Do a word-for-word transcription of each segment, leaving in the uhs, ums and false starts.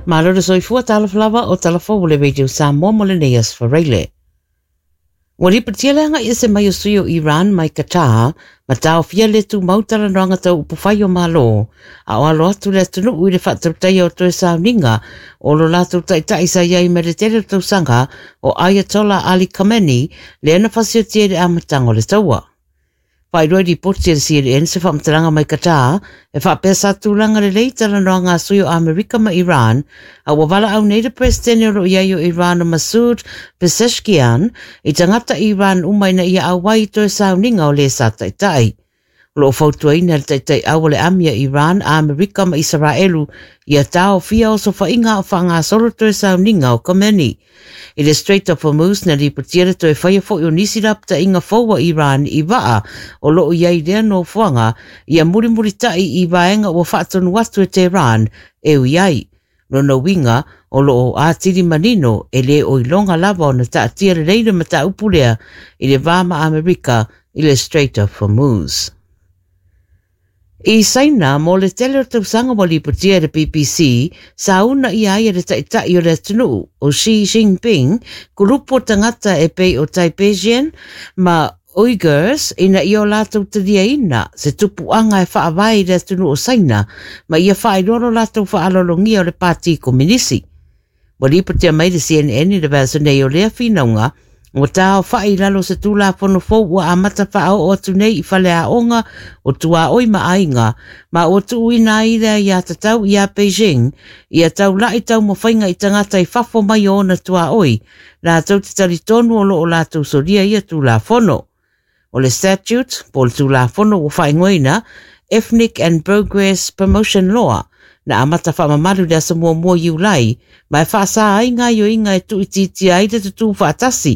Malo le soifua talofa lava o talafou o le Radio Samoa mo lenei aso Faraile. Ua lipotia le agai ese mai o sui o Iran mai Qatar ma taofia le tumau talanoaga tau upufai o Malo, a o alo atu le atunuu i le faatautaia o toe sauniga o lo latou taitai sa i ai mai le tele o tausaga o Ayatollah Ali Khamenei, lea na fasiotia i le amataga o le taua. Faailoa i lipoti a le C N N se faamatalaga mai Qatar e faapea sa tulaga lelei talanoaga a sui o Amerika ma Iran, a ua valaau nei le Peresetene o lo o i ai o Iran o Masoud Pezeshkian i tagata Iran uma ina ia auai i toe sauniga o le sa taitai. O lo o fautuaina le taitai au o le ami a Iran, Amerika ma Isaraelu ia taofia osofaiga o faagasolo toe sauniga o Khamenei. I le Strait of Hormuz na lipotia le toe faia foi o nisi lapataiga fou a Iran i vaa o lo o i ai lea nofoaga ia mulimulitai i vaega ua faatonu atu e Tehran e ui ai. Lona uiga o lo o atili manino e le o iloga lava ona taatia lelei le mataupu lea i le va ma Amerika i le Strait of Hormuz. I Saina, mo le tele o tausaga ua lipotia e le B B C, sa una ia ai e le taitai o le atunuu o Xi Jinping, kulupu o tagata e pei o Tibetian ma Uyghurs ina ia o latou taliaina se tupuaga e faavae i le atunuu o Saina ma ia faailoa lo latou faalologia o le Pati Kominisi. Ua lipotia mai le C N N i le vaiaso nei o lea finauga, ua taofai i lalo o se Tulafono fou ua amata faaoo atu nei i faleaoga o tuaoi ma aiga, ma ua tuuina ai lea ia tatau ia Beijing, ia taulai taumafaiga i tagata i fafo mai o ona tuaoi, latou te talitonu o lo o latou solia ia Tulafono. O le statute, po o le Tulafono ua faaigoaina Ethnic and Progress Promotion Law, na amata faamamalu le aso muamua Iulai, ma e faasa ai gaioiga e tuuitiitia ai le tutū faatasi,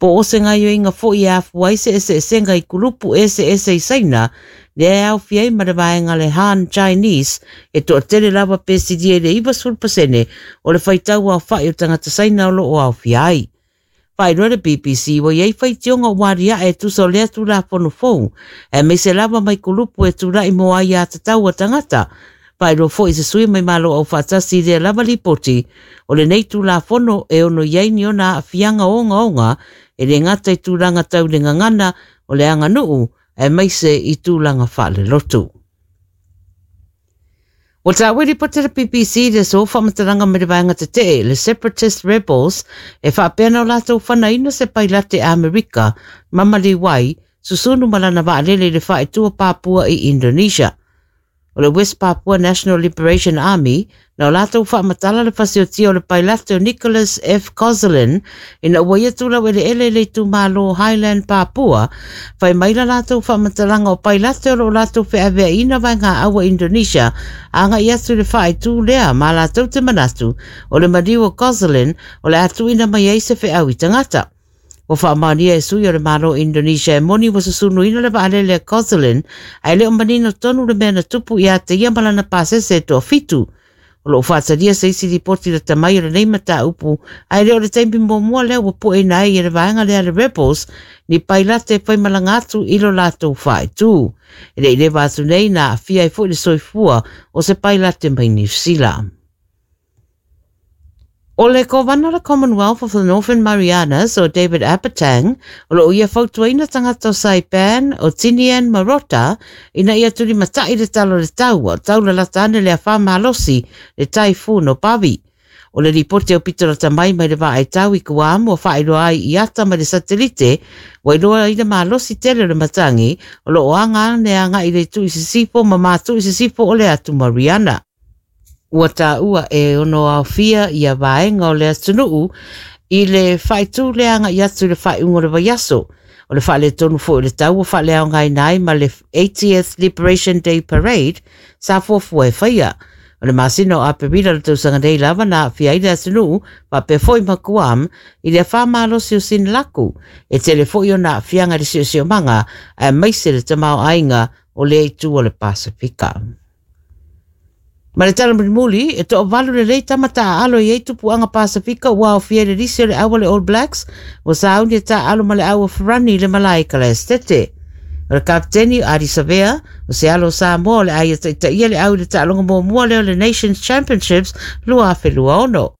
po o se gaioiga foi e afua ai se eseesega i kulupu eseese i Saina, lea e aofia ai ma le vaega le Han Chinese, e toatele lava pe silia i le ivasefulu pasene o le faitau aofai o tagata Saina o lo o aofia ai. Faailoa le B B C ua iai faitioga ua aliae e tusa o lea Tulafono fou, aemaise lava mai kulupu e tulai mo ai aiatatau a tagata. Faailoa foi se sui mai Malo Aufaatasi i lea lava lipoti, o lenei Tulafono e ono i ai ni ona aafiaga ogaoga e le gata i tulaga tau le gagana o le aganuu, aemaise i tulaga faalelotu. Ua taua i lipoti a le B B C le aso faamatalaga mai le vaega tetee, le Separatist Rebels, e faapea na o latou fanaina se pailate Amerika, Mamali Wai, susunu ma lana vaalele i le faaitua Papua i Indonesia. O le West Papua National Liberation Army, na o latou faamatala le fasiotia o le pailate o Nicholas F. Kozulin, ina ua ia tulau eleele i le itumalo Highland Papua, fai mai la latou faamatalaga o pailate o lo o latou feaveaina vaega aua Indonesia, agai atu i le faaitu lea ma latou te manatu o le maliu o Kozulin o le atuina mai ai se feau i tagata. Ua faamaonia e sui o le Malo Indonesia e moni ua susunuina le vaalele a Kozulin, ae le o manino tonu le mea na tupu ia te ia ma lana pasese e toafitu. O lo o faatalia se isi lipoti lata mai o lenei mataupu, ae le o le taimi muamua lea ua pueina ai e le vaega lea le Rebels, ni pailate e faimalaga atu i lo latou faaitu. E le i leva atu nei na aafia ai foi le soifua o se pailate mai Niu Sila. O le Kovana o le Commonwealth of the Northern Marianas o David Apatang, o lo o ia fautuaina tagata o Saipan, o Tinian ma Rota, ina ia tulimatai le tala o le taua, taulalata ane le afa malosi, le typhoon o Bavi. O le lipoti o pitolata mai mai le vaaitau i Guam ua faailoa ai i ata mai le satelite, ua iloa ai le malosi tele o le matangi, o lo o aga ane agai i le itu i sisifo ma matu i sisifo o le atu Mariana. Ua taua e ono aofia ia vaega o le atunuu i le faaitu le agai atu i le faaiuga o le vaiaso. O le faaletonu foi o le tau ua faaleaogaina ai ma le eightieth Liberation Day Parade sa fuafua e faia. O le masina o Aperila le tausaga nei lava na aafia ai le atunuu faapea foi ma Guam i le afa malosi o Sinlaku. E tele foi ona aafiaga i le siosiomaga aemaise le tamaoaiga o lea itu o le Pasifika. Ma le tala mulimuli, e toavalu lelei tama taaalo i ai tupuaga Pasifika ua aofia i le lisi o le au a le All Blacks, ua sauni e taaalo ma le au a Ferrani i le malae i Kalaestete. O le kapiteni Ardie Savea, o se alo Samoa o le a ia taitaia le au i le taaloga muamua lea o le Nations Championships lua afe lua ono.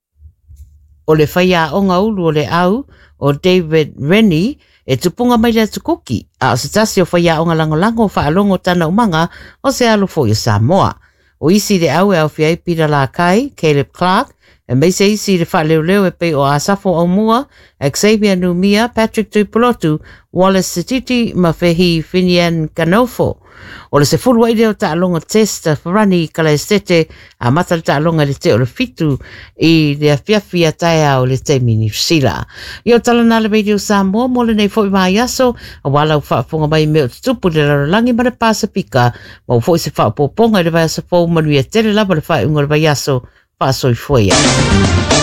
O le faiaoga ulu o le au o David Rennie e tupunga mai le atukuki, a o se tasi o faiaoga lagolago o faalogo tana umaga o se alo foi o Samoa. O isi le au e aofia ai Peter Lakai, Caleb Clark, e meise isi le faaleoleo e pei o Asafo Aumua, Xavier Numia, Patrick Tuipulotu, Wallace Sititi ma Fehi Finian Kanofo. O le sefulu ai lea o taaloga test farani kalaestete a mata le taaloga i le te o le fitu i le afiafi a taeao le taimi Niu Sila. I o talana le Radio Samoa mo lenei foi vaiaso, auā lau faafofoga mai mea o tutupu i le lalolagi ma le Pasifika, ma ua foi se faaopoopoga i le vaiaso fou manuia tele lava le faaiuga o le vaiaso. Faasoifua ia.